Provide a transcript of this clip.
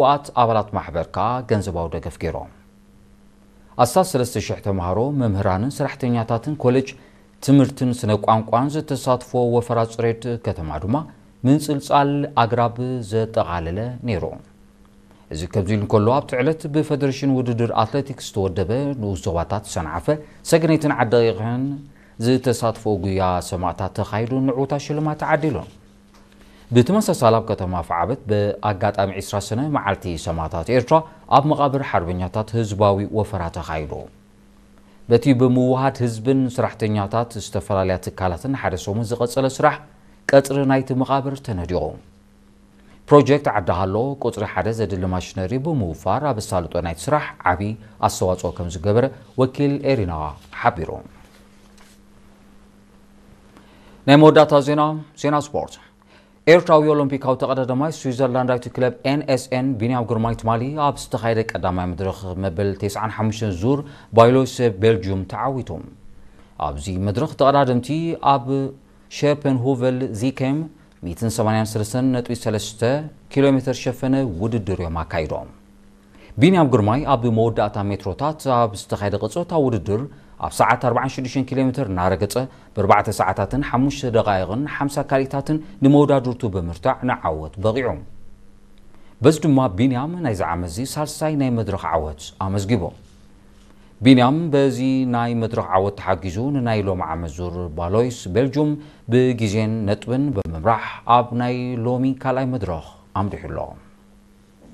ብኡኣት ኣባላት ማሕበር ከኣ ገንዘባዊ ደገፍ ገይሮም። ኣስታት ሰለስተ ሽሕ ተምሃሮ፣ መምህራንን ሰራሕተኛታትን ኮሌጅ ትምህርትን ስነ ቋንቋን ዝተሳትፎ ወፈራ ጽሬት ከተማ ድማ ምንጽልጻል ኣግራብ ዘጠቓለለ ነይሩ። እዚ ከምዚ ኢሉ እንከሎ፣ ኣብቲ ዕለት ብፈደሬሽን ውድድር ኣትሌቲክስ ዝተወደበ ንኡስ ዞባታት ሰንዓፈ፣ ሰገነይትን ዓዲ ደቂቕን ዝተሳትፎ ጉያ ሰማእታት ተኻይዱ ንዕውታ ሽልማት ተዓዲሉ። ብተመሳሳሊ ኣብ ከተማ ኣፍዓበት ብኣጋጣሚ ዕስራ ሰነ መዓልቲ ሰማእታት ኤርትራ ኣብ መቓብር ሓርበኛታት ህዝባዊ ወፈራ ተኻይዱ። በቲ ብምውሃድ ህዝብን ሰራሕተኛታት ዝተፈላለያ ትካላትን ሓደ ሰሙን ዝቐጸለ ስራሕ ቀጽሪ ናይቲ መቓብር ተነዲቑ። ፕሮጀክት ዓዲ ሃሎ ቁጽሪ ሓደ ዘድሊ ማሽነሪ ብምውፋር ኣብ ኣሳልጦ ናይቲ ስራሕ ዓቢ ኣስተዋጽኦ ከም ዝገበረ ወኪል ኤሪና ሓቢሩ። ናይ መወዳእታ ዜና፣ ዜና ስፖርት። ኤርትራዊ ኦሎምፒካዊ ተቐዳዳማይ ስዊዘርላንዳዊት ክለብ ኤንኤስኤን ቢንያም ግርማይ ትማሊ ኣብ ዝተኻየደ ቀዳማይ መድረኽ መበል ተስዓን ሓሙሽተን ዙር ባይሎስ ቤልጅዩም ተዓዊቱ። ኣብዚ መድረኽ ተቐዳደምቲ ኣብ ሸፐንሆቨል ዚኬም ሚእትን ሰማንያን ሰለስተን ነጥቢ ሰለስተ ኪሎ ሜትር ሸፈነ ውድድር እዮም ኣካይዶም። ቢንያም ግርማይ ኣብ መወዳእታ ሜትሮታት ኣብ ዝተኻየደ ቅጽበታዊ ውድድር ኣብ ሰዓት ኣርባዓን ሽዱሽተን ኪሎ ሜትር እናረገጸ ብኣርባዕተ ሰዓታትን ሓሙሽተ ደቓይቕን ሓምሳ ካልኢታትን ንመወዳድርቱ ብምርታዕ ንዓወት በቒዑ። በዚ ድማ ቢንያም ናይዚ ዓመት እዚ ሳልሳይ ናይ መድረኽ ዓወት ኣመዝጊቡ። ቢንያም በዚ ናይ መድረኽ ዓወት ተሓጊዙ ንናይ ሎሚ ዓመት ዙር ባሎይስ ቤልጁም ብግዜን ነጥብን ብምምራሕ ኣብ ናይ ሎሚ ካልኣይ መድረኽ ኣምሪሑ ኣሎ።